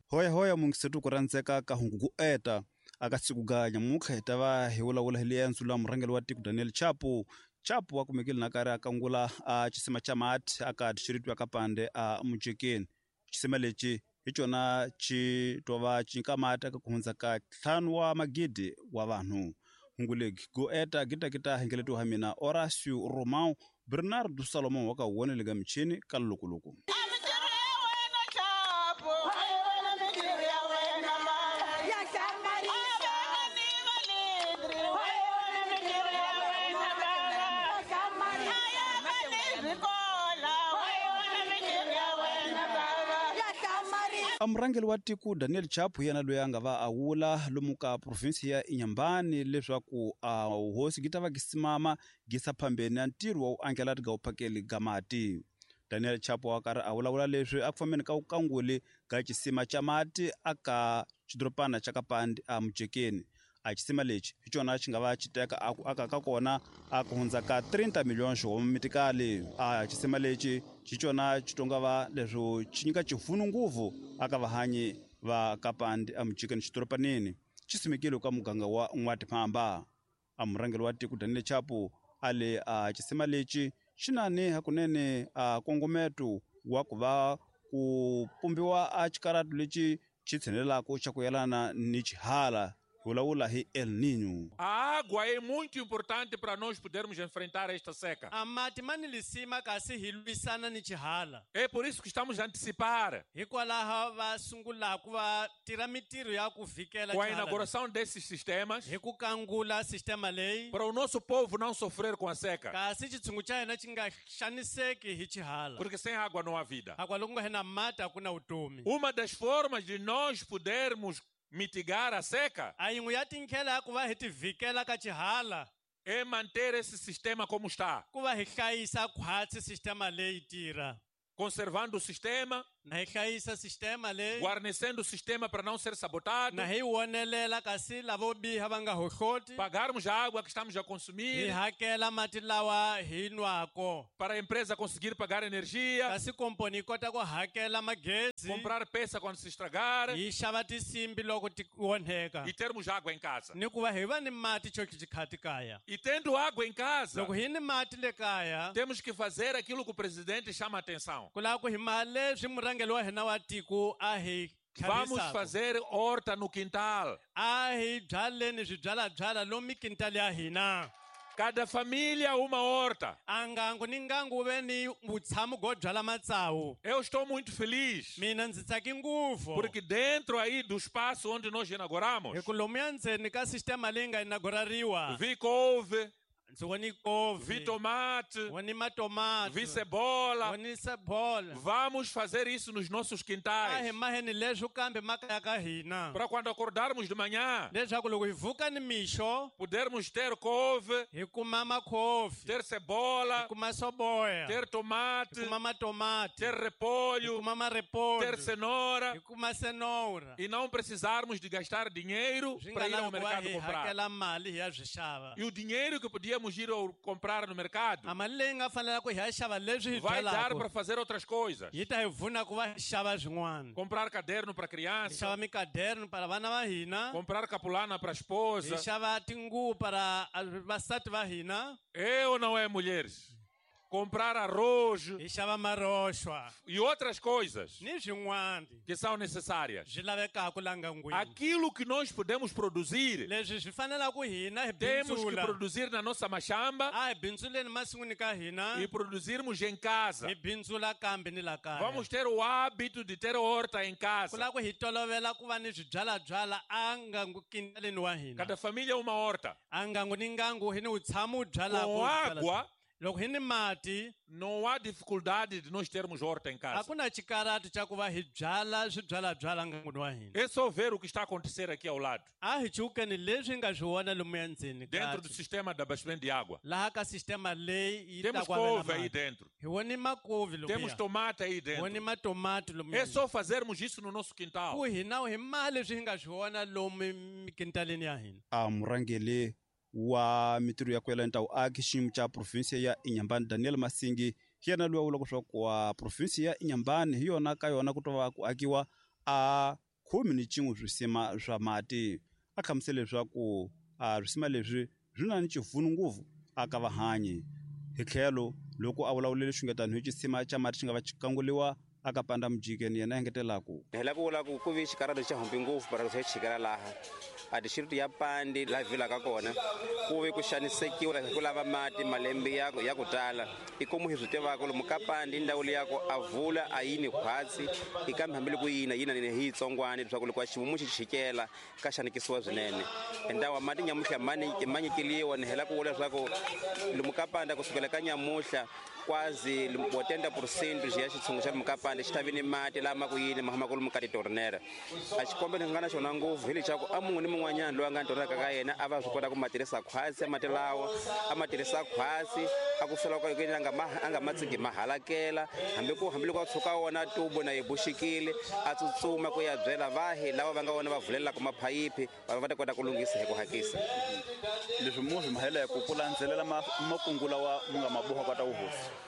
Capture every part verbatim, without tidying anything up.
Hoya hoya mungisetu ku rhandzeka ka hungu ku eta aka siku ga nyamutlha hi ta va hi vulavula hi liendzo la murhangeri wa tiko Daniel Chapo. Chapo wa kumekile na karhi a kangula a xisima xa mati aka district ya Kapande a Mujekeni. Xisima lexi hi xona xi tova xi nyika mati eka ku hundza ka ntlhanu wa magidi wa vanhu. Hungu legi go eta gitakita hingeletiwa ha mina Horacio Romão Bernardo Salomão wa ka wonele ga michini ka lokoloku. Murhangeri wa tiko Daniel Chapo yena loyi a nga va a wula lomu ka province ya Inhambane leswaku a hosi gi ta va gi simama gi sa phambeni na ntirho wa ku angela ga vuphakeli ga mati. Daniel Chapo wa karhi a vulavula leswi a ku fambeni ka vukanguli ga xisima xa mati aka xidorobana xa Kapande a Mujekeni. A xisima lexi hi xona xi nga va xi teka a ku aka ka kona a ku hundza ka trinta milhões wa mitikali. A xisima lexi xi xona xi tonga va leswo xi nyika xipfuno ngopfu aka vahanyi va Kapande a Mujekeni xidorobaneni. Xi simekile ka muganga wa N'watiphamba. A murhangeri wa tiko Daniel Chapo a le a xisima lexi xi na ni hakunene a nkongometo wa ku va ku pumbiwa a xikaratu lexi xi tshinelelaka xa ku yelana ni xihala. Vulavula hi El Niño. A água é muito importante para nós podermos enfrentar esta seca. A mati mani lisima kasi hi lwisana ni xihala. É por isso que estamos a antecipar. Hikwalaho va sungula ku va tirha mitirho ya ku vikela com a inauguração desses sistemas. Hi ku kangula sistema leyi. Para o nosso povo não sofrer com a seca. Kasi xitshungu xa hina xi nga xaniseki hi xihala. Porque sem água não há vida. Água loko nga na mati a ku na vutomi. Uma das formas de nós podermos mitigar a seca a yin'we ya tindlela ya ku va hi tivikela ka xihala é manter esse sistema como está. Ku va hi hlayisa khwatsi sistema leyi tirha. Conservando o sistema, na hi hlayisa sistema leyi, guarnecendo o sistema para não ser sabotado, na hi wonelela kasi lavo biha va nga hohloti, pagarmos a água que estamos a consumir, hi hakela mati lawa hi nwako, para a empresa conseguir pagar energia, kasi komponi yi kota ku hakela magezi, comprar peça quando se estragar, hi xava tinsimbi loko ti onheka, e termos água em casa. Ni ku va hi va ni mati xo xikhati kaya. E tendo água em casa, loko hi ni mati le kaya, temos que fazer aquilo que o presidente chama a atenção. Ku lava ku hi ma leswi murhangeri wa hina wa tiko a hi Vamos fazer horta no quintal. A hi byaleni swibyalabyala lomu quintal ya hina. Cada família uma horta. A ngangu ni ngangu ve ni vutshamo byo byala matsawu. Eu estou muito feliz. Mina ndzi tsaki ngopfu. Porque dentro aí do espaço onde nós inauguramos, hi ku lomuya ndzeni ka sistema leyi nga inaugurariwa, vi couve, ndzi voni couve, vi tomate, voni matomate, vi cebola, voni cebola. Vamos fazer isso nos nossos quintais. A hi maheni leswo kambe makaya ka hina. Para quando acordarmos de manhã, leswaku loko hi vuka ni mixo, podermos ter couve, hi kuma makhofi, ter cebola, hi kuma soboya, ter tomate, hi kuma matomate, ter repolho, hi kuma marepolho, ter cenoura, hi kuma cenoura. E não precisarmos de gastar dinheiro para ir ao mercado comprar. Hakela mali hi ya swi xava. E o dinheiro que podíamos ir ao comprar no mercado a mali leyi nga fanela ku hi ya xava leswi hi vai dar byalaka, para fazer outras coisas. Yi ta hi pfuna ku va hi xava swin'wana. Comprar caderno para criança, hi xava mikaderno para vana va hina, comprar capulana para a esposa, hi xava tinguvu para vasati va hina. É ou não é, mulheres? Comprar arroz hi xava maroxwa e outras coisas ni swin'wana que são necessárias. Swi lavekaka la ngangwini. Aquilo que nós podemos produzir, leswi swi fanelaka hina hi temos que bindzula. produzir na nossa machamba a hi bindzuleni masin'wini ka hina e produzirmos em casa. Hi bindzula kambe ni la kaya. Vamos ter o hábito de ter horta em casa. Ku lava ku hi tolovela ku va ni swibyalabyala a ngangukinaleni wa hina. Cada família uma horta. A ngangu ni ngangu hi ni vutshamo wu byalaka Com água, loko hi ni mati, não há dificuldade de nós termos horta em casa. A ku na xikaratu xa ku va hi byala swibyalabyala ngangwini wa hina. É só ver o que está a acontecer aqui ao lado. A hi chukeni leswi hi nga swi vona lomuya ndzeni Dentro do sistema de abastecimento de água. Laha ka sistema leyi yi ta Temos ku avela couve aí mati. dentro. Hi voni makovi lomuya. Temos tomate aí dentro. Voni matomati lomuya. É só fazermos isso no nosso quintal. Ku hina hi mali leswi hi nga swi vona lomu mikintaleni ya hina. A murhangeri wa mitirho ya ku yelana ta vuaki xiyimo xa province ya Inhambane Daniel Masingi hi yena loyi a vulaka leswaku wa province ya Inhambane hi yona ka yona ku to va ku akiwa a khume ni cin'we swisima swa mati. A hlamusela leswaku a swisima leswi swi na ni xipfuno ngopfu aka vahanyi. Hi tlhelo loko a vulavulele xungetano hi xisima xa mati xi nga va xi kanguliwa aka Panda Mujikeni, yena engetelaku hi lava ku vula ku ku vi xikarhalo xa humbi ngopfu para xa chikela laha a district ya Pandi laha vilaka kona ku vi ku xanisekiwa hi ku lava mati malembe ya ya ku tala i komu hi swi tivaka lomu ka Pandi ndhawu leyi ya ku a vula a yini khwatsi i kambe hambiloko yina yina ni hi yitsongwana leswaku loko a ximumu xi chikela ka xanikisiwa swinene ndhawu mati nyamuhla mani ma nyikeliwa ni hela ku vula leswaku lomu ka Panda kusukela ka nyamuhla quase oitenta por cento ya xitshungu xa lomu ka Panda xi ta vi ni mati lama ku yini ma humaka lomu ka titornera. A xikombe lexi nga na xona ngopfu hi lexaku a mun'we ni mun'wanyana loyi a nga tornera ka yena a va swi kota ku ma tirhisa khwatsi a mati lawa a ma tirhisa khwatsi a ku fela ka yena a nga ma a nga ma tsiki ma halakela hambi ku hambiloko a tshuka wona tubo na yi buxikile a tsutsuma ku ya byela vahi lava va nga wona va vulelaka maphayiphi va va ta kota ku lunghisa hi ku hakisa. Leswi mu swi mahela ku ku landzelela makungu lawa mu nga ma boha ka ta wuhosi.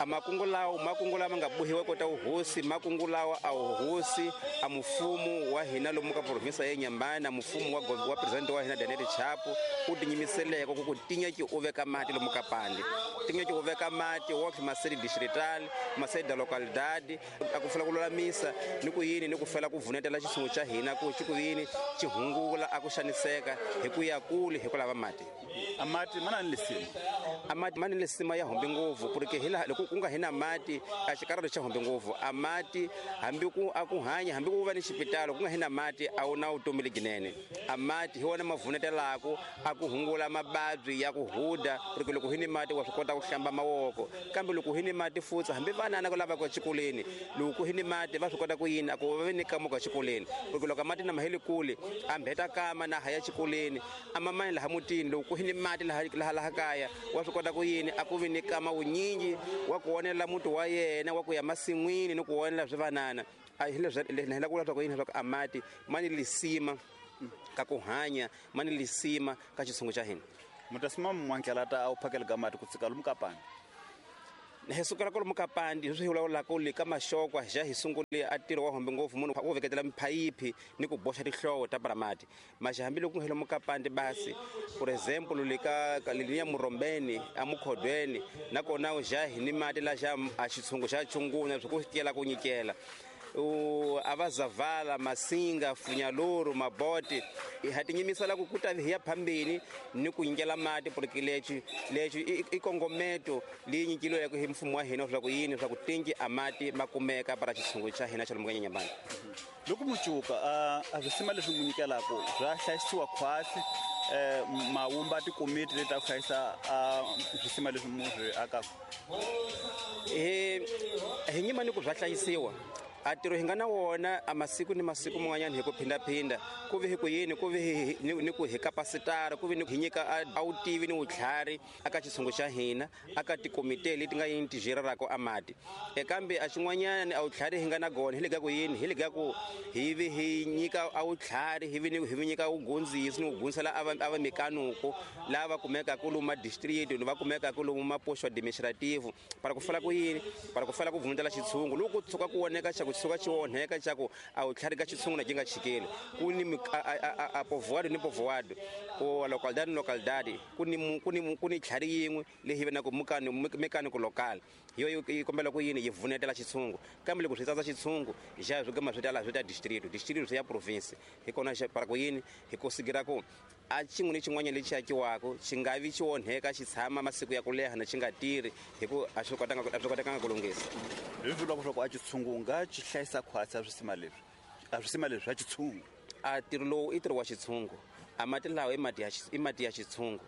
A makungu lawa makungu lama nga bohiwa kota wuhosi makungu lawa a wuhosi a mfumo wa hina lomu ka province ya Inhambane na mfumo wa wa president wa hina Daniel Chapo u tinyimiseleke ku ku tinya ki u veka mati lomu ka Pandi tinya ki u veka mati wa masedi distrital masedi da localidade a ku fela ku lulamisa ni ku yini ni ku fela ku vunetela xitshungu xa hina ku xi ku yini xi hungula a ku xaniseka hi ku ya kule hi ku lava mati. A mati mana ni lisima a mati mana ni lisima ya humbi ngopfu porque hi laha loko ku nga hina mati a xikarhalo xa humbi ngopfu a mati hambi ku a ku hanya hambi ku va ni xipitalo ku nga hina mati a wu na vutomi lebyinene. A mati hi wona ma vunetelaka a ku hungula mavabyi ya ku huda porque loko hi ni mati wa swi kota ku hlamba mavoko kambe loko hi ni mati futsi hambi vanana ku lava ku xikolweni loko hi ni mati va swi kota ku yini a ku va ni kamuka xikolweni porque loko mati na maheli kule a mbeta kama na haya xikolweni a mamani laha mutini loko hi ni mati laha laha laha kaya wa swi kota ku yini a ku vi ni kama wunyingi wa ku onela muti wa yena wa ku ya masin'wini ni ku onela swivanana a hi leswi hi la ku vula ku yini leswaku a mati ma ni lisima ka ku hanya ma ni lisima ka xitshungu xa hina. Mutasima mwankela ta a wu phakela ka mati ku tsika lomu ka Pandi hi sukela kwalomu ka Pandi hi swi hi vulavulaka le ka maxokwa xa hi sungule a ntirho wa hombe ngopfu munhu wo veketela miphayiphi ni ku boxa tinhlovo ta paramati maxa hambiloko ku lomu ka Pandi basi for example le ka liniya Murombeni a Mukhodweni nakona xa hi ni mati la xa a xitshungu xa chunguna swi ku kela ku nyikela a va Zavala Masinga Funyaluru Maboti ha tinyimisela ku kuta hi ya phambeni ni ku nyikela mati porque lexi lexi i kongometo leyi nyikiliweke hi mfumo wa hina leswaku yini leswaku tinki a mati ma kumeka para xitshungu xa hina xa lomu ka Inhambane. Loko mucuka a swisima leswi mu nyikelaka swa hlayisiwa khwatsi ma wumba tikomiti leti ta ku hlayisa swisima leswi mu swi akaka hi hi nyima ni ku bya hlayisiwa a ntirho hi nga na wona a masiku ni masiku man'wanyana hi ku phindaphinda ku vi hi ku yini ku vi ni ku hi kapasitara ku vi ni hi nyika a wutivi ni vutlhari aka xitshungu xa hina aka tikomite leti nga yini ti jirelaka a mati e kambe a xin'wanyana a wutlhari hi nga na gona hi le ka ku yini hi le ka ku hi vi hi nyika a wutlhari hi vi ni hi vi nyika wugundzisi ni wugundzisela a va a va mekanuko lava kumekaka lomu ma district va kumekaka lomu mapoxo administrative para ku fela ku yini para ku fela ku vundzela xitshungu loko ku tshuka ku voneka xa ku tshuka xi onheka xa ku a wu tlhari ka xitshungu na xi nga chikeli ku ni a povoado ni povoado o localidade ni localidade ku ni ku ni ku ni tlhari yin'we leyi vi na ku mukani mechanic local yo yi kombela ku yini yi vunetela xitshungu kambe loko swi tsatsa xitshungu xa swi gama swi tala swi ta district district swi ya province hi kona xa para ku yini hi ku sigira ku a xin'we ni xin'wanyana lexi akiwaka xi nga vi xi onheka xi tshama masiku ya ku leha na xi nga tirhi hi ku a swi kotanga a swi kotekanga ku lunghisa. Leswi vulaka leswaku a xitshungu nga xi hlayisa khwatsi a swisima leswi a swisima leswi swa xitshungu a ntirho lowu i ntirho wa xitshungu a mati lawa i mati ya i mati ya xitshungu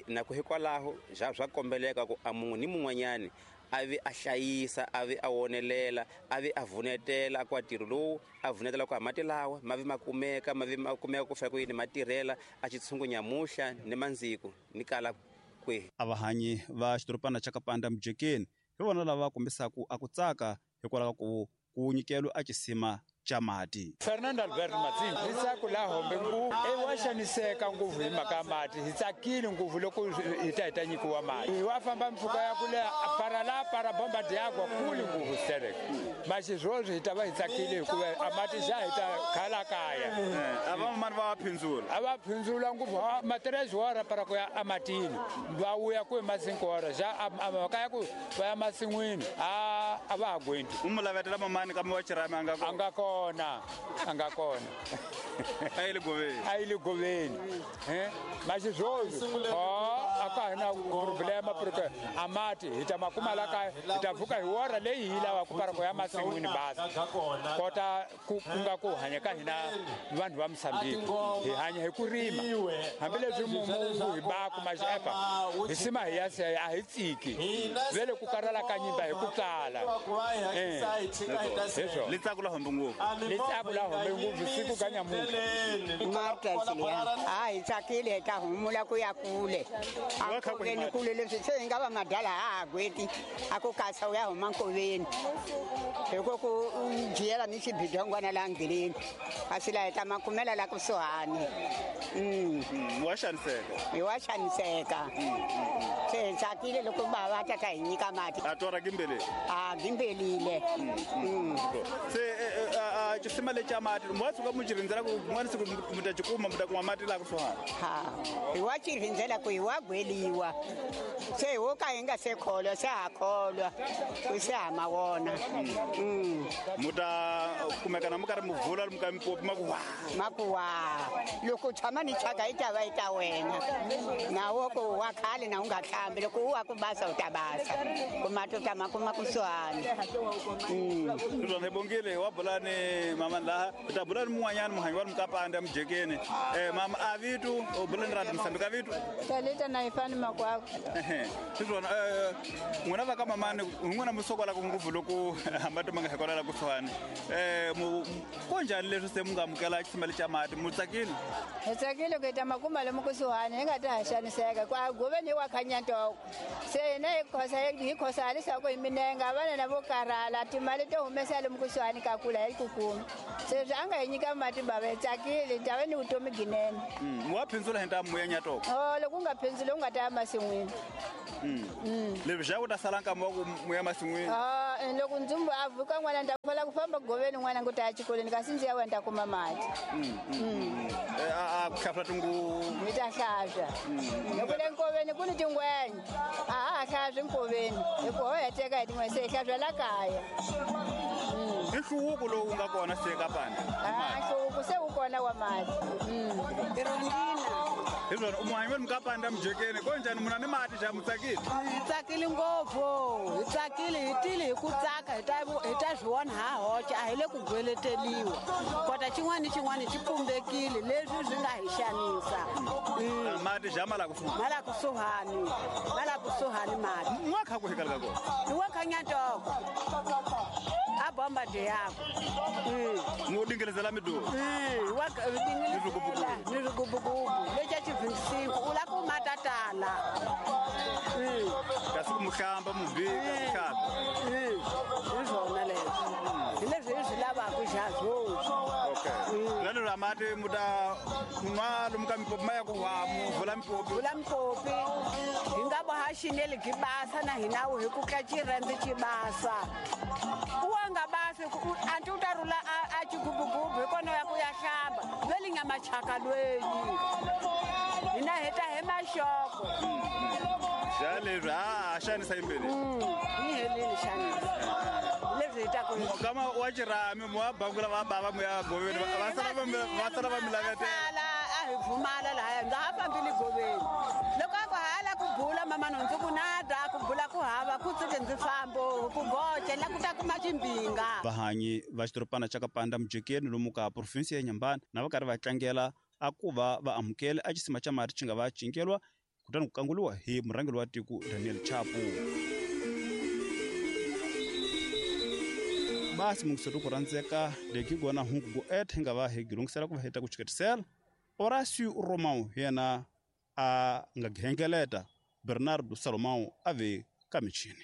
na ku hikwalaho swa swa kombeleka ku a mun'we ni mun'wanyani a vi a hlayisa a vi a wonelela a vi a vunetela kwa ntirho lowu a vunetela ku a mati lawa ma vi ma kumeka ma vi ma kumeka ku fika ku yini ma tirhela a xitshungu nyamuhla ni mandziko ni kala kwihi. A vahanyi va xidorobana xa Kapanda Mujekeni hi vona lava kombisaka a ku tsaka hikwalaho ka ku ku nyikelo a xisima xa mati. Fernando Alberto Matsimbi hi tsaku la hombe ngopfu e wa xaniseka ngopfu hi mhaka ya mati hi tsakile ngopfu loko hi ta hi ta nyikiwa mati hi wa famba mpfhuka ya ku leha para la para bomba d'água kule ngopfu sterek maxi swoswi hi ta va hi tsakile hikuva a mati xa hi ta khala kaya a va mani va phindzula a va phindzula ngopfu ma três horas para ku ya ematini va vuya ku hi ma cinco horas xa a mhaka ya ku va ya masin'wini a a va ha gwenti u mu lavetela mamani kambe wa xirhami a nga a nga kona a nga kona a yi le goveni a yi le goveni eh maxi swoswi a ka hi na problema porque a mati hi ta ma kuma la kaya hi ta pfuka hi hora leyi hi lavaka para ku ya masin'wini basa kota ku ku nga ku hanya ka hina vanhu va Mozambique hi hanya hi ku rima hambileswi mumu hi baku maxefa hi sima hi ya se a hi tsiki vele ku karhala ka nyimba hi ku tsala eh li tsaku la hombe ngopfu li tsaku la hombe ngopfu siku ka nyamuka Marta Siliya a hi tsakile hi ta humula ku ya kule a nkoveni kule leswi se hi nga va madala a ha gweti a ku kasa u ya huma nkoveni hi ku ku jiyela ni xibidongwana laha ndleleni kasi laha hi ta makumela la kusuhani wa xaniseka hi wa xaniseka se hi tsakile loko bava ta ta hi nyika mati a tora gimbele a gimbelile se xisima lexi xa mati wa tshuka mu xi rindzela ku kun'wana siku mu ta xi kuma mu ta kuma mati laha kusuhani ha hi wa xi rindzela ku hi wa gweliwa se hi wo ka hi nga se kholwa se ha kholwa ku se ha ma wona mu ta kumeka na mu karhi mu vula mu ka mipopi ma ku wa ma ku wa loko tshama ni thyaka yi ta va yi ta wena na wo ku wa khale na u nga hlambi loko u wa ku basa u ta basa ku mati u ta ma kuma kusuhani swona hi bongile wa bula ni mama laha u ta bula ni mun'wanyani muhanyi wa mukapanda mujekeni eh mama a vitu u bula ni rati Mozambique a vitu Talita na ifani makwako swona eh n'wina va ka mamani n'wina mi sokola ku ngopfu loko mati ma nga hi kona la kusuhani eh ko njhani leswi se mu nga amukela xisima lexi xa mati mu tsakile hi tsakile ku hi ta makuma lomu kusuhani hi nga ta ha xaniseka ku a goveni hi wa khanyantoko se hina hi khosa hi khosa halisa ku hi minenga vana na vo karhala timali to humesa lomu kusuhani ka kula hi ku kuma se swi a nga hi nyika mati bava hi tsakile hi ta va ni vutomi byinene wa phindzula hi ntamu ya nyatoko o loko u nga phindzuli u nga ta ya masin'wini leswi xa ku ta sala nkama wa ku mu ya masin'wini loko ndzumbu a vuka n'wana ni ta fala ku famba goveni n'wana ku ta ya xikolweni kasi ndzi ya wena ta kuma mati a ku hlafula tinguvu mi ta hlaswa loko le nkoveni ku ni tingwenya a ha ha hlaswi nkoveni hikuva ho heteka hi tin'wenya se hi hlaswa la kaya i nhluvuko lowu nga kona se ka panda a nhluvuko se wu kona wa mati hi swona u muhanyi wa mukapanda mujekeni ko njhani muna ni mati xa mu tsakile hi tsakile ngopfu hi tsakile hi tile hi ku tsaka hi ta hi ta swi vona ha hoxa a hi le ku gweleteliwa kota xin'wana ni xin'wana xi pumbekile leswi swi nga hi xanisa mati xa ma la kusuhani ma la kusuhani ma la kusuhani mati n'wa kha ku hikala ka kona hi wa khanyantoko a bomba d'água mu dingelezela midoro wa dingelezela ni swigubugubu lexa xi vinte e cinco u la ku matatala kasi ku muhlamba mubika muhlamba hi swona leswi hi leswi hi swi lavaka xa swoswi okay lero ra mati mu ta nwa lomu ka mipopi ma ya ku wa mu vula mipopi vula mipopi hi nga boha xineli byi basa na hina hi ku ka xirhendze xi basa u wa nga basi anti u ta rhula a xigubugubu hi kona ya ku ya hlamba lweli nga machaka lweni hina hi ta hi maxoko xa leswi ha xanisa yimbele yi helile xanisa leswi hi ta ku kama wa xirhami mu wa bangula va bava mu ya goveni va sala va va sala va mi lavetela a hi pfumala lahaya ndza ha fambile goveni loko a ku hala ku bula mama no ndzi ku nada ku bula ku hava ku tsike ndzi fambo ku goce la ku ta kuma ximbinga vahanyi va xitoropana xa Kapanda mujekeni lomu ka provinsi ya Nyambani na va karhi va tlangela a ku va va amukele a xisima xa mati xi nga va cinkelwa kutani ku kanguliwa hi murhangeri wa tiko Daniel Chapo. Basi mungiseto ku rhandzeka leki gona hungu go et hi nga va hi gilungisela ku va heta ku chiketisela Horacio Romão yena a nga ghengeleta Bernardo Salomão a ve ka michini.